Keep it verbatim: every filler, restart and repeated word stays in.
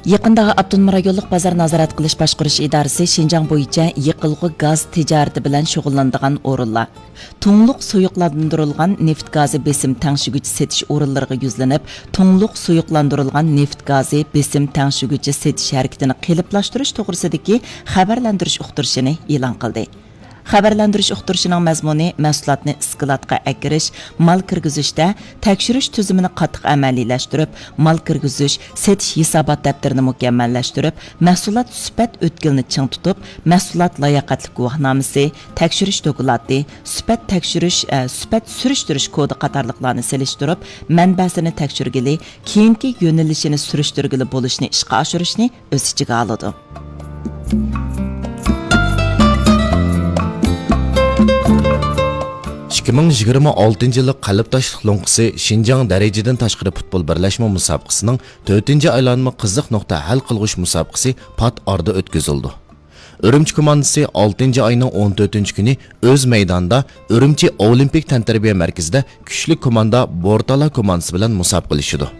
يېقىندا ئاپتونوم رايونلۇق بازار نازارەت قىلىش باشقۇرۇش ئىدارىسى شىنجاڭ بويىچە يېقىلغۇ گاز تىجارىتى بىلەن شۇغۇللىنىدىغان ئورۇنلار، تۇڭلۇق سۇيۇقلاندۇرۇلغان نېفىت گازى بېسىم تەڭشىگۈچى سېتىش ئورۇنلىرىغا يۈزلىنىپ، تۇڭلۇق سۇيۇقلاندۇرۇلغان نېفىت گازى بېسىم تەڭشىگۈچى سېتىش ھەرىكىتىنى قېلىپلاشتۇرۇش توغرىسىدىكى خەۋەرلەندۈرۈش ئۇقتۇرۇشىنى ئېلان قىلدى. خەۋەرلەندۈرۈش ئۇقتۇرۇشىنىڭ مەزمۇنى مەھسۇلاتنى ئىسكىلاتقا ئەكىرىش، مال كىرگۈزۈشتە تەكشۈرۈش تۈزۈمىنى قاتتىق ئەمەلىيلەشتۈرۈپ، مال كىرگۈزۈش، سېتىش ھېسابات دەپتىرىنى مۇكەممەللەشتۈرۈپ، مەھسۇلات سۈپەت ئۆتكىلىنى چىڭ تۇتۇپ، مەھسۇلات لاياقەتلىك گۇۋاھنامىسى، تەكشۈرۈش دوكلاتى، سۈپەت تەكشۈرۈش، ئە، سۈپەت سۈرۈشتۈرۈش كودى قاتارلىقلارنى سېلىشتۇرۇپ، مەنبەسىنى تەكشۈرگىلى، كېيىنكى يۆنىلىشىنى سۈرۈشتۈرگىلى بولۇشنى ئىشقا ئاشۇرۇشنى ئۆز ئىچىگە ئالىدۇ. ئىككى مىڭ يىگىرمە ئالتىنچى يىللىق قەلبداشلىق لوڭقىسى شىنجاڭ دەرىجىدىن تاشقىرى پۇتبول بىرلەشمە مۇسابىقىسىنىڭ تۆتىنچى ئايلانما قىزىق نۇقتا ھەل قىلغۇچ مۇسابىقىسى پات ئارىدا ئۆتكۈزۈلىدۇ. ئۈرۈمچى كوماندىسى ئالتىنچى ئاينىڭ ئون تۆتىنچى كۈنى ئۆز مەيدانىدا ئۈرۈمچى ئولىمپىك تەنتەربىيە مەركىزىدە كۈچلۈك كوماندا بورتالا كوماندىسى بىلەن مۇسابىقىلىشىدۇ.